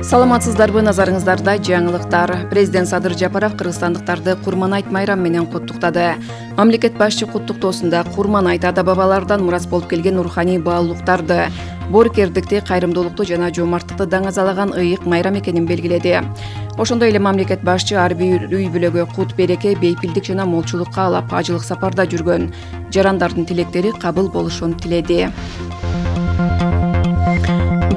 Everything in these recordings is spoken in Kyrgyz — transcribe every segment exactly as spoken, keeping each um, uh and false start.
Саламатсыздарбы, назарыңыздарда жаңылыктар. Президент Садыр Жапаров кыргызстандыктарды Курман-айт майрамы менен куттуктады. Мамлекет башчы куттуктоосунда Курман-айт ата бабалардан мурас болуп келген руханий баалуулуктарды, боорукердикти, кайрымдуулукту жана жоомарттыкты даңазалаган ыйык майрам экенин белгиледи. Ошондой эле мамлекет башчы ар бир үй бүлөгө кут береке, бейпилдик жана молчулук каалап, ажылык сапарда жүргөн жарандардын тилектери кабыл болушун тиледи.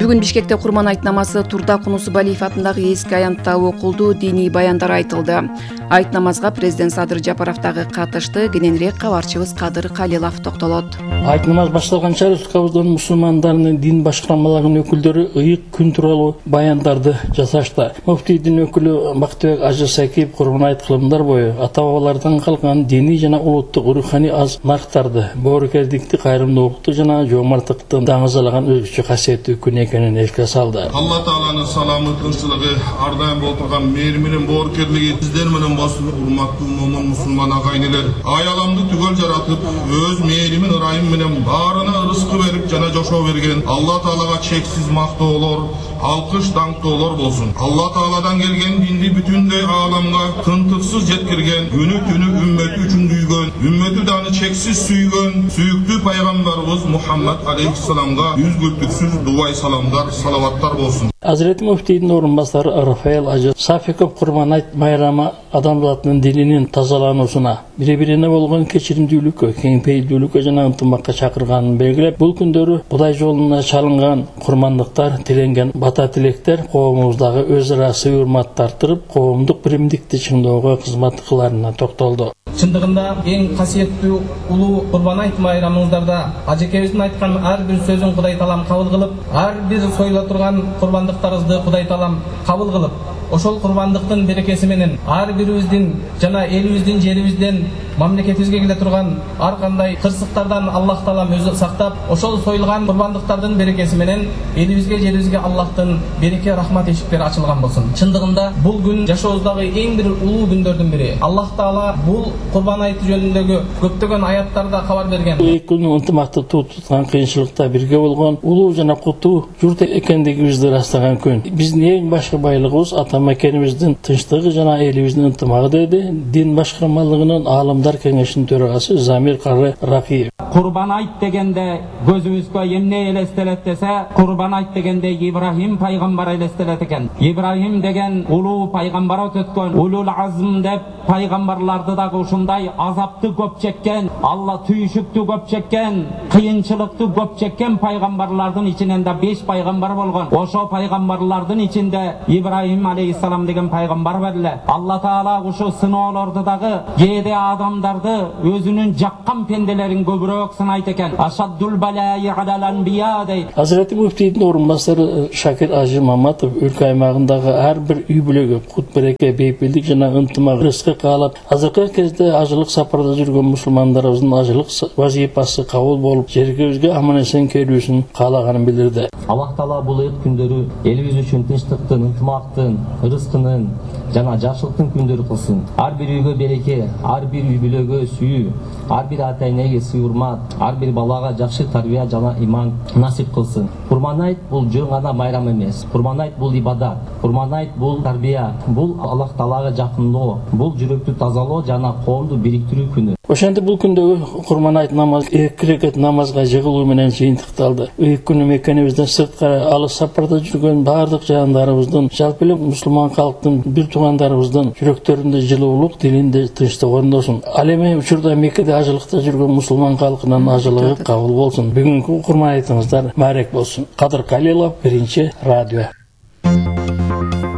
Бүгүн Бишкекте Курман-айт намазы Турда Кунусубалиев атындагы эски аянтта окулду, диний баяндар айтылды. Айт намазга президент Садыр Жапаров дагы катышты. Кененирээк кабарчыбыз Кадыр Калилов токтолот. Айт намаз башталганча республикабыздын мусулмандарынын дин башкармаларынын өкүлдөрү ыйык күн тууралуу баяндарды жасашты. Муфтий дин өкүлү Бактыбек Ажы Сакиев Курман-айт кылымдар бою ата бабалардан калган диний жана улуттук руханий аз нарктарды, боорукердикти, кайрымдуулукту жана жоомарттыкты даңазалаган өзгөчө касиеттүү күн экенин эске салды. Алла Тааланын саламы, тынччылыгы, ар дайым болуп турган мээри менен боорукерлиги сиздер менен болсун, урматтуу момун мусулман агайнелер. Айаламды түгөл жаратып, өз мээри менен ырайым менен баарына ырыскы берип жана жошоо берген Алла Таалага чексиз мактоолор, алкыш даңктоолор болсун. Алла Тааладан келген динди бүтүндөй ааламга тынтыксыз жеткирген, күнү түнү үммөтү үчүн дүйгөн, үммөтү даны чексиз сүйгөн сүйүктүү пайгамбарыбыз Мухаммад алейхиссаламга үзгүлтүксүз дубай саламдар, салаваттар болсун. Азирети муфтийдин орун басары Рафаэл Ажы Сафиков Курман-айт майрамы адамзаттын дининин тазалануусуна, бири-бирине болгон кечиримдүүлүккө, кеңпейилдүүлүккө жана ынтымакка чакырганын белгилеп, бул күндөрү Кудай жолуна чалынган курмандыктар, тиленген бата тилектер коомубуздагы өз ара сый урматты арттырып, коомдук биримдикти чыңдоого кызмат кыларына токтолду. Чындыгында эң касиеттүү улуу Курман-айт майрамыңыздарда ажекебиздин айткан ар бир сөзүн Кудай Таалам кабыл кылып, ар бир сойула турган курбандыктарыбызды Кудай Таалам кабыл кылып, ошол курбандыктын берекеси менен ар бирибиздин жана элибиздин, жерибизден, мамлекетибизге келе турган ар кандай кырсыктардан Аллах Таалам өзү сактап, ошол союлган курбандыктардын берекеси менен элибизге, жерибизге Аллахтын береке, рахмат эшиктери ачылган болсун. Чындыгында бул күн жашообуздагы эң бир улуу күндөрдүн бири. Аллах Таала бул Курбан-айт жөнүндөгү көптөгөн аяттарда кабар берген. Эки күн ынтымакты туткан, кыйынчылыкта бирге болгон улуу жана куттуу журт экендигибизди ырастаган күн. Биздин эң башкы байлыгыбыз ата мекенибиздин тынчтыгы жана элибиздин ынтымагы, деди дин башкармалыгынын аалымдар кеңешинин төрагасы Замир Кары Ракиев. Курбан-айт дегенде көзүбүзгө эмне элестелет десе, Курбан-айт дегенде Ибрахим пайгамбар элестелет экен. Ибрахим деген улуу пайгамбар өткөн, улул азм деп пайгамбарларды дагы ушундай азапты көп чеккен, Алла түйшүктү көп чеккен, кыйынчылыкты көп чеккен пайгамбарлардын ичинен да беш пайгамбар болгон. Ошо пайгамбарлардын ичинде Ибрахим алейхиссалам деген пайгамбар бар эле. Алла Таала ушу сыноолорду дагы кээде адамдарды өзүнүн жаккан пенделерин көбүрөөк сынайт экен. Ашаддул балаи алал анбия дейт. Азирети муфтийдин орун басары Шакир Ажы Маматов өлкө аймагындагы ар бир үй бүлөгө кут береке, бейпилдик жана ынтымак рызкы каалап, азыркы кезде ажылык сапарда жүргөн мусулмандарыбыздын ажылык вазифасы кабыл болуп, жергибизге аман-эсен келүүсүн каалаганын билдирди. Аллах Таала бул ыйык күндөрү элибиз үчүн тынчтыктын, ынтымактын, рызкынын жана жакшылыктын күндөрү кылсын. Ар бир үйгө береке, ар бир үй бүлөгө сүйүү, ар бир ата энеге сый урмат, ар бир балага жакшы тарбия жана иман насип кылсын. Курман-айт бул жөн гана майрам эмес. Курман-айт бул ибадат. Курман-айт бул тарбия, бул Аллах Таалага жакындоо, бул жүрөктү тазалоо жана коомду бириктирүү күнү. Ошентип бул күндөгү Курман-айт намазы эки рекет намазга жыгылуу менен жыйынтыкталды. Ыйык күнү мекенибизден сырткары алыс сапарда жүргөн бардык жандарыбыздын, жалпы эле мусулман калктын, бир туугандарыбыздын жүрөктөрүндө жылуулук, дилинде тынчтык орносун. Ал эми учурда Меккеде ажылыкта жүргөн мусулман калкынын ажылыгы кабыл болсун. Бүгүнкү Курман-айтыңыздар маарек болсун. Кадыр Калилов, Биринчи радио.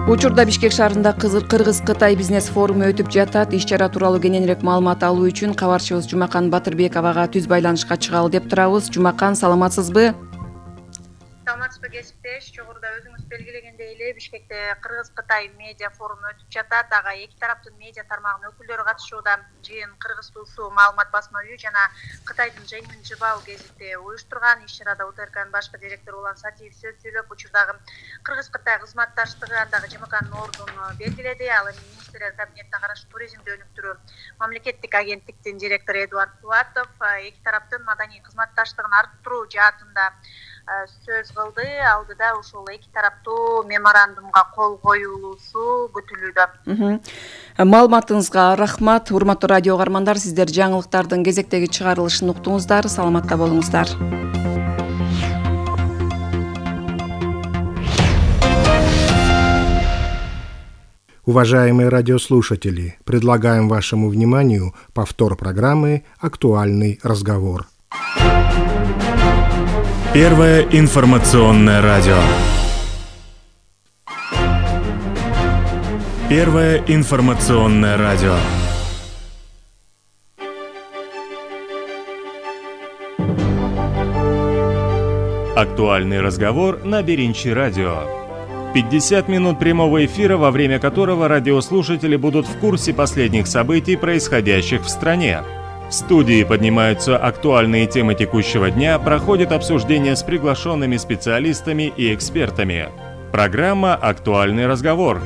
Учурда Бишкек шаарында Кыргыз-Кытай бизнес форуму өтүп жатат. Иш-чара тууралуу кененирээк маалымат алуу үчүн кабарчыбыз Жумакан Батырбековага түз байланышка чыгалы деп турабыз. Жумакан, саламатсызбы? Саламатсызбы кесиптеш, жогоруда өзүңүз белгилегендей эле Бишкекте Кыргыз-Кытай медиа форуму өтүп жатат. Ага эки тараптын медиа тармагынын өкүлдөрү катышууда. Жыйын Кыргыз туусу маалымат басма үйү жана Кытайдын Жэньмин Жибао гезити уюштурган. Иш-чарада УТРКнын башкы директору Улан Сатиев сөз сүйлөп, учурдагы Кыргыз-Кытай кызматташтыгы, андагы ЖМКнын ордун белгиледи. Ал эми министрлер кабинетине караштуу туризмди өнүктүрүү мамлекеттик агенттиктин директору Эдуард Пулатов эки тараптын маданий кызматташтыгын арттыруу жаатында сөз кылды. Алдыда ушул эки тараптуу меморандумга кол коюлуусу күтүлүүдө. Маалыматыңызга рахмат. Урматтуу радио каармандар, сиздер жаңылыктардын кезектеги чыгарылышын уктуңуздар. Саламатта болуңуздар. Уважаемые радиослушатели, предлагаем вашему вниманию повтор программы «Актуальный разговор». Первое информационное радио. Первое информационное радио. Актуальный разговор на Беринчи радио. пятьдесят минут прямого эфира, во время которого радиослушатели будут в курсе последних событий, происходящих в стране. В студии поднимаются актуальные темы текущего дня, проходит обсуждение с приглашенными специалистами и экспертами. Программа «Актуальный разговор».